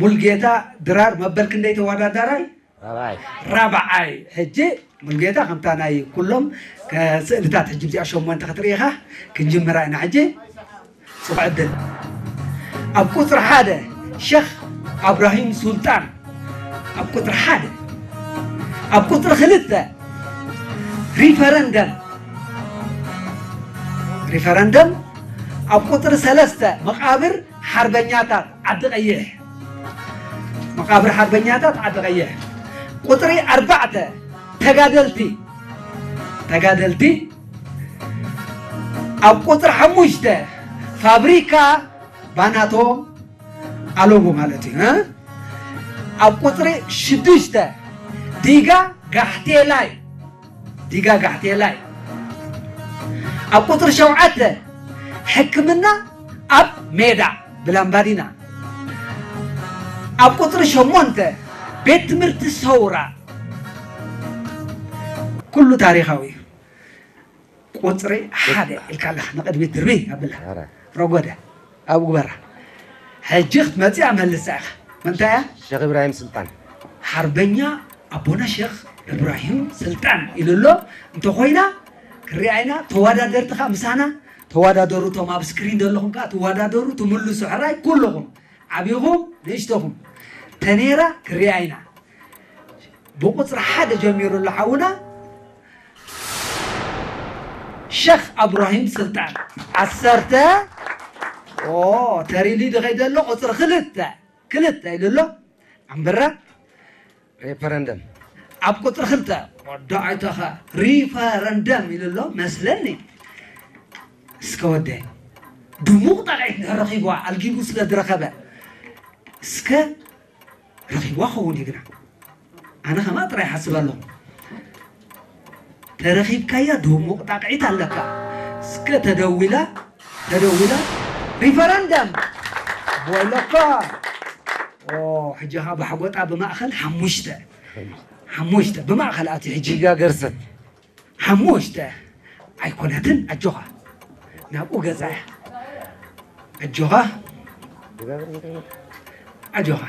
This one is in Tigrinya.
ሙልጌታ ድራር መበል ክንደይ ተወዳዳራይ? ራብዓይ። ራብዓይ። ሕጂ ሙልጌታ ከምታ ናይ ኩሎም ከ-፣ ስእልታት ሕጂ እዚኣ ሸሞንተ ክትርኢ ኢኻ፣ ክንጅምራ ኢና ሕጂ። ጽቡቕ ዕድል። ኣብ ቁጽሪ ሓደ ሸኽ ኣብራሂም ሱልጣን። ኣብ ቁጽሪ ሓደ። ኣብ ቁጽሪ ክልተ ሪፈረንደም። ሪፈረንደም። ኣብ ቁጽሪ ሰለስተ መቓብር ሓርበኛታት ዓዲ ቀይሕ። መቓብር ሓርበኛታት ዓዲ ቀይሕ። ቁጽሪ ኣርባዕተ ተጋደልቲ። ተጋደልቲ። ኣብ ቁጽሪ ሓሙሽተ ፋብሪካ ባናቶ ኣለቡ ማለት እዩ። እ? ኣብ ቁጽሪ ሽዱሽተ ዲጋ ጋሕቴላይ። ዲጋ ጋሕቴላይ። ኣብ ቁጽሪ ሸውዓተ ሕክምና ኣብ ሜዳ ብላምባዲና። ኣብ ቁጽሪ ሸሞንተ ቤት ትምህርቲ ሰውራ። ኩሉ ታሪኻዊ እዩ። ቁጽሪ ሓደ ኢልካ ኣለኻ፣ ንቕድሚት ድርቢ ኣብላ። ኧረ። ረጎደ። ኣብ ግበራ። ሕጂ ክትመጽእ እያ፣ መልሳ ኢኻ። መንታይ እያ? ሸኽ ኢብራሂም ስልጣን። ሓርበኛ ኣቦና ሸኽ ኢብራሂም ስልጣን ኢሉ ኣሎ። እንተኾይና፣ ክሪኣ ኢና። ተወዳደርቲ ኸኣ ምሳና ተወዳደሩ። እቶም ኣብ ስክሪን ዘለኹም ከኣ ትወዳደሩ፣ ትምልሱ። ሕራይ ኩልኹም፣ ዓቢኹም፣ ንእሽቶኹም። ተኔራ ክሪኣ ኢና። ብቁጽሪ ሓደ ጀሚሩ ኣሎ ሓውና ሸኽ ኣብራሂም ስልጣን። ዓሰርተ። ኦ፣ ተሪሊ ድኸይ ዘሎ ቁጽሪ ክልተ። ክልተ ኢሉ ኣሎ። ኣንበራ። ሪፈረንደም። ኣብ ቁጽሪ ክልተ። ወዲ ኣይተኸ ሪፈረንደም ኢሉ ኣሎ መስለኒ። እስከ ወደ ድሙቕ ጣቕዒት እንድሕር ረኺብዋ፣ ኣልጊቡ ስለ ዝረኸበ። እስከ ረኺብዋ ኸውን እዩ ግና። ኣነ ከማ ጥራይ ሓስብ ኣለኹ። ተረኺብካያ ድሙቕ ጣቕዒት ኣለካ። እስከ ተደዊላ፣ ተደዊላ ሪፈረንደም ወለኳ። ኦ፣ ሕጂ ኸዓ ባሕጎጣ ብማእኸል ሓሙሽተ። ሓሙሽተ ብማእኸል ኣትዩ ሕጂ። ዲጋ ገርሰት። ሓሙሽተ ኣይኮነትን። ኣጆኻ። ናብኡ ገጻ እያ። ኣጆኻ። ኣጆኻ።